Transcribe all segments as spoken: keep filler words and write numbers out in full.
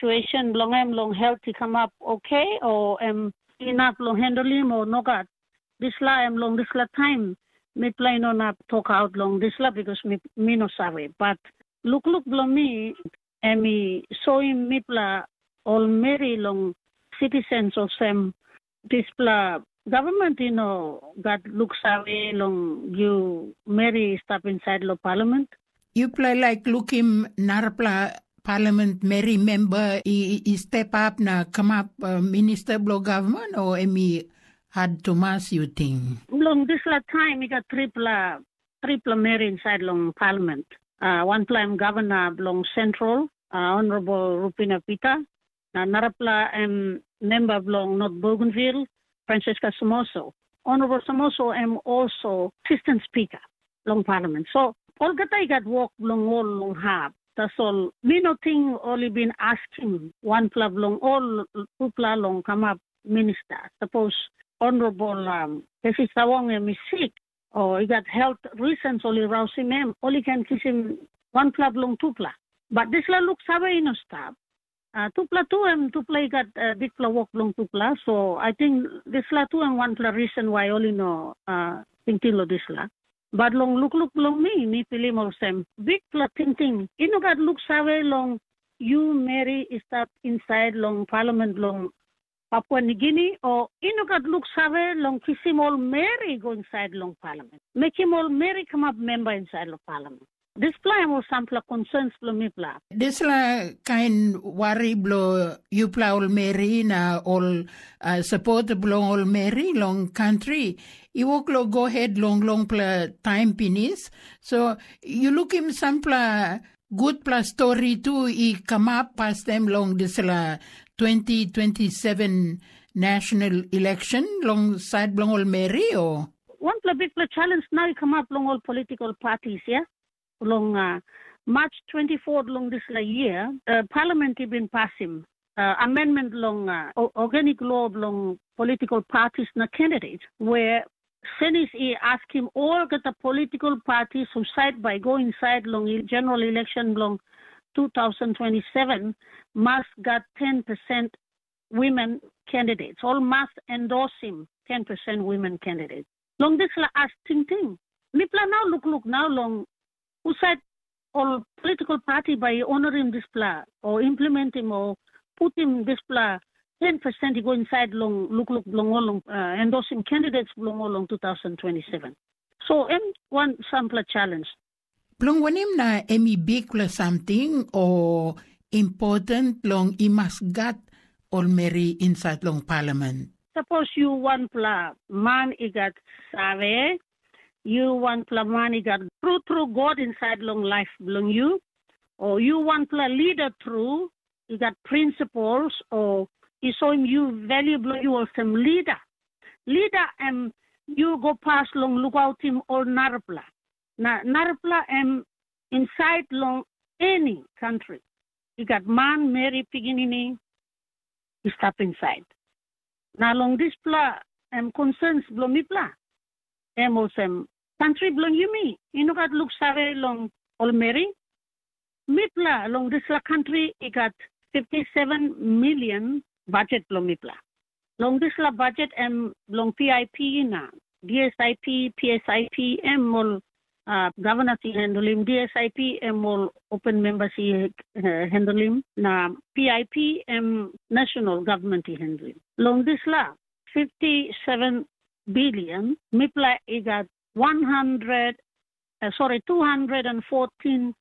situesen bilong em long helt i kamap oke, o em inap long hendelim, o nogat. Dispela em long dispela taim mipela i no inap tokaut long dispela, bikos mi, mi no save. Bat lukluk bilong mi, em i soim mipela ol meri long sitisens olsem, dispela gavman i no gat luksave long yu meri i stap insait long palamen. Yupela i laik lukim narapela palamen meri memba i, i step ap na kamap uh, minista bilong gavman, o em i hat tumas, yu ting? Long dispela taim i gat tripela, tripela meri insait long palamen. Uh, wanpela em gavana bilong Sentral, uh, Honorable Rupina Peter, na narapela em memba bilong North Bougainville, Francisca Somoso. Honorable Somoso em also assistant speaker long parliament. So olgeta i gat wok bilong ol long hap. Tasol mi no ting ol i bin askim wanpela bilong ol tupela long kamap minista. Sapos Honorable um, Pesi Sawong em i sik, o i gat health reasons ol i rausim em, ol i ken kisim wanpela bilong tupela. Bat dispela luksave i no stap. Uh, tupela tu em tupela i gat uh, bikpela wok bilong tupela. So I think dispela tu em wanpela reason why ol i no uh, tingting long dispela. Bat long lukluk bilong mi, mi pilim olsem, bikpela tingting i no gat luksave long yu meri i stap insait long palamen bilong Papua Nigini, o i no gat luksave long kisim ol meri i go insait long palamen, mekim ol meri kamap memba insait long palamen. Dispela em ol sampela konsens bilong mipela. Dispela kain wari bilong yupela ol meri na ol uh, sapot bilong ol meri long kantri i wok long go het long longpela taim pinis. So yu lukim sampela gutpela stori tu i kamap pastaim long dispela twenty twenty-seven national election long sait bilong ol meri, o? Wanpela bikpela challenge nau i kamap long ol political parties, ya. Long uh, March twenty-four long dispela year, uh, Parliament i bin pasim uh, amendment long uh, organic law bilong political parties na candidates, where Senis i askim olgeta political parties who side by go inside long general election bilong two thousand twenty-seven must got ten percent women candidates. All must endorse him ten percent women candidates. Long dispela as tingting, mipela nau lukluk nau long husat ol political party bai i honorim dispela o implementim o putim dispela ten percent i go insait long lukluk bilong ol long uh, endosim candidates bilong ol long two thousand twenty-seven. So em wan sampela challenge. Bilong wanem na em i bikpela samting o important long i mas gat ol meri insait long palamen? Sapos yu wanpela man i gat save, yu wanpela man i gat tru tru God insait long laip bilong yu, o yu wanpela lida tru i gat principles, o i soim yu value bilong yu olsem lida. Lida em yu go pas long lukautim ol narapela. Na narapela em insait long eni kantri i gat man, meri, pikinini i stap insait. Na long dispela em konsens bilong mipela, em olsem, kantri bilong yumi i no gat luksave long ol meri. Mipela long dispela kantri i gat fifty seven million budget bilong mipela. Long dispela budget em bilong P I P na D S I P, P S I P em ol uh, governors i handlim, D S I P em ol open members i uh, handlim, na P I P em national government i handlim. Long dispela fifty seven billion, mipela i gat one hundred, uh, sorry, two hundred and fourteen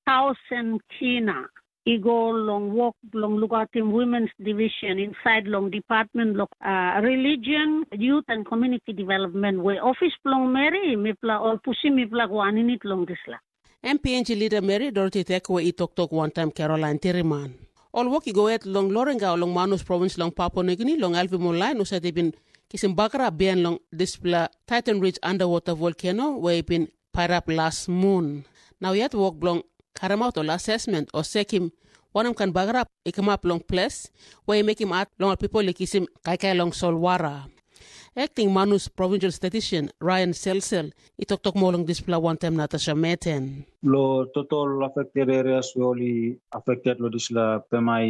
thousand kina i go long wok bilong lukautim Women's Division insait long Department bilong uh, Religion, Youth and Community Development, we ofis bilong meri mipela ol pusim mipela go aninit long dispela. M P N G lida meri Dorothy Tekwe i toktok wantaim Caroline Tiriman. Ol wok i go het long Loringa long Manus provins long Papua Nugini long helpim ol lain husat i bin kisim bagarap bihain long dispela Titan Ridge underwater volcano we i bin pairap las mun. Nau yet wok bilong karemaut ol asesmen o sekim wanem kain bagarap i kamap long ples we i mekim at long ol pipel i kisim kaikai long solwara. Ekting Manus Provincial Statistician Ryan Selsel i toktok moa long dispela wantaim Natasha Meten. Lo total affected areas we ol i affected lo dispela pemai